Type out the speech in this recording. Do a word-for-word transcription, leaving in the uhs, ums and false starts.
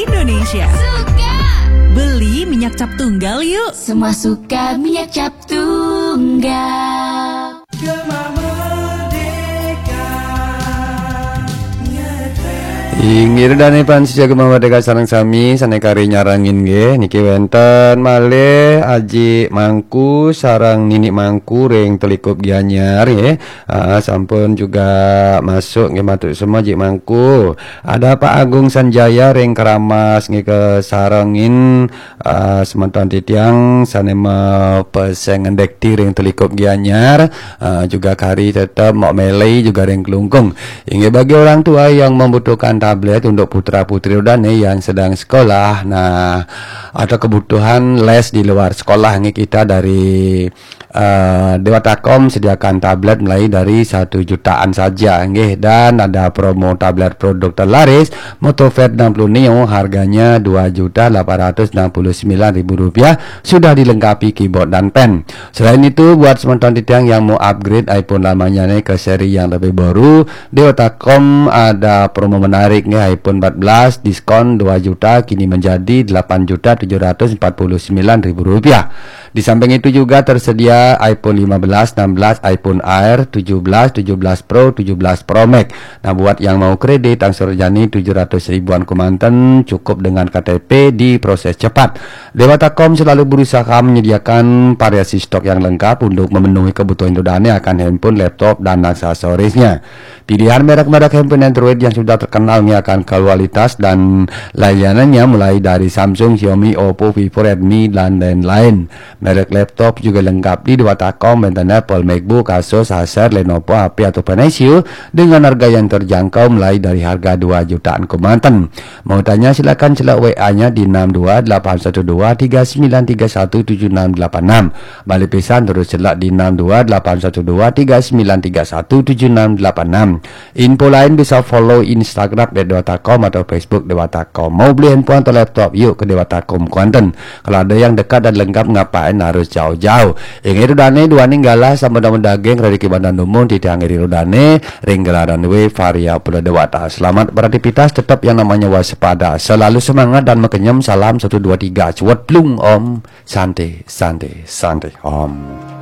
Indonesia. Suka. Beli minyak cap tunggal yuk. Semua suka minyak cap tunggal. Inggih, Ida dané pansia Gema Merdeka sareng sami sané kari nyarengin nggih. Niki wénten malih Aji Mangku sareng Nini Mangku ring Telikup Gianyar nggih. Ah, sampun juga masuk nggih, matur suksma Aji Mangku. Ada Pak Agung Sanjaya ring Keramas nggih, kasarengin, ah, semeton titiang sané mapeseng ngendek ring Telikup Gianyar, ah, juga kari tetep Mok Meli juga ring Klungkung. Inggih, bagi orang tua yang membutuhkan tablet untuk putra putri Ida dané yang sedang sekolah, nah, atau kebutuhan les di luar sekolah nggih, kita dari eh, Dewata Com sediakan tablet mulai dari satu jutaan saja nggih, dan ada promo tablet produk terlaris Motoved enam puluh Neo, harganya dua juta delapan ratus enam puluh sembilan ribu rupiah, sudah dilengkapi keyboard dan pen. Selain itu, buat semeton titiang yang mau upgrade iPhone lamanya nih ke seri yang lebih baru, Dewata Com ada promo menarik nggih, iPhone empat belas diskon dua juta kini menjadi delapan juta tujuh ratus empat puluh sembilan ribu rupiah. Di samping itu juga tersedia iPhone lima belas, enam belas, iPhone Air, tujuh belas, tujuh belas Pro, tujuh belas Pro Max. Nah, buat yang mau kredit angsur jani tujuh ratus ribuan kemanten, cukup dengan K T P, diproses cepat. Dewata Com selalu berusaha menyediakan variasi stok yang lengkap untuk memenuhi kebutuhan Ida dané akan handphone, laptop, dan aksesorisnya. Pilihan merek-merek handphone Android yang sudah terkenal nggih akan kualitas dan layanannya, mulai dari Samsung, Xiaomi, Oppo, Vivo, Redmi, dan lain-lain. Merek laptop juga lengkap di Dewata Com, wénten Apple, MacBook, Asus, Acer, Lenovo, H P, ataupun Acer dengan harga yang terjangkau, mulai dari harga dua jutaan kemanten. Mau tanya, silakan cek W A-nya di enam dua delapan satu dua tiga sembilan tiga satu tujuh enam delapan enam. Balik pisan, terus cek di enam dua delapan satu dua tiga sembilan tiga satu tujuh enam delapan enam. Info lain bisa follow Instagram at dewata com atau Facebook Dewata Com. Mau beli handphone atau laptop, yuk ke Dewata Com Kuantan. Kalau ada yang dekat dan lengkap, ngapain harus jauh-jauh? Inggih, Ida dané, duaning galah sampun damel daging, reriki badan dumun, titiang iri Ida dané ring gelaran W Varia Pura Dewata. Selamat beraktivitas, tetap yang namanya waspada. Selalu semangat dan makenyem. Salam satu dua tiga. Cuet plung, Om. Santi, Santi, Santi, Om.